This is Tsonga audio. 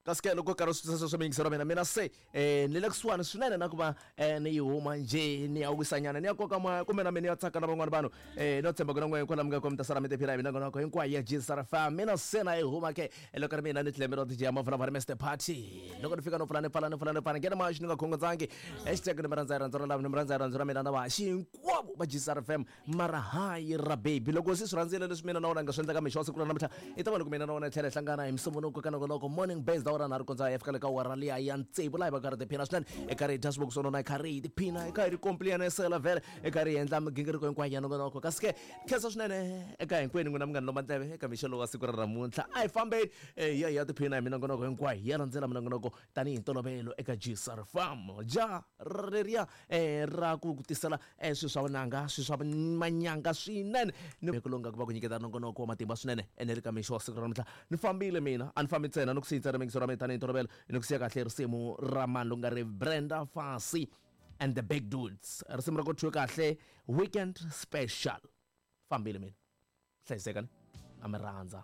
Kasi ke loko karhi swi sweswo miyingiselo mina mina se ni le kusuhani swinene na ku va ni yi huma njhe, ni ya wisanyana, ni ya koka moya, kumbe na mina ni ya tsaka na van'wana vanhu. No tshemba ku na n'we kwala mi nga kona mi ta sala mi tiphina hi minongonoko hinkwayo ya Gsr FM. Mina se na yi huma ke loko ri mina ni tlembe DJ ya Mavulavari Mr Party. Loko ni fika no pfula ni pfala ni pfula ni pfala nghena maxi ni nga khongodzangi. Hashtag ni mi rhandza hi rhandzu ra lava, ni mi rhandza hi rhandzu ra mina na vahaxi hinkwavo va Gsr FM. Mara hayi ra baby, loko se swi rhandzile leswi mina na wena nga swi endlaka mixo wa siku ra namuntlha, i ta va loko mina na wena hi tlhela hi hlangana hi Musumbunuko ka nongonoko Morning Base awara nharhu kondza hi fika le ka awara liya ya tsevu, laha hi va karhi tiphina swinene, hi karhi hi dya swivoko swo nona, hi karhi hi tiphina, hi kha hi ri kompliyanisela vhele, hi karhi hi endla migingiriko hinkwayo ya nongonoko. Kasi ke khensa swinene eka hinkwenu n'wina munghana lomba ndleve eka mixo lowu wa siku ra namuntlha. A hi fambeni hi ya hi ya tiphina hi minongonoko hinkwayo, hi ya landzela minongonoko tanihi ntolovelo eka Gsr Farm. Ja reriya ra ku tisela swilo swa vunanga, swilo swa manyanga swinene, ni ku longa ku va ku nyiketa nongonoko wa matimba swinene. Ene ri ka mixo wa siku ra namuntlha ni fambile mina, a ni fambi ntsena, ni ku siyi ntsena mingiso ra mina tanihi ntolovelo, ni ku siya kahle risimu ra mani loku nga ri Brenda Fassie and the Big Dudes, risimu ra ku thyiwe kahle Weekend Special. Fambile mina, hlayisekani, a mi rhandza.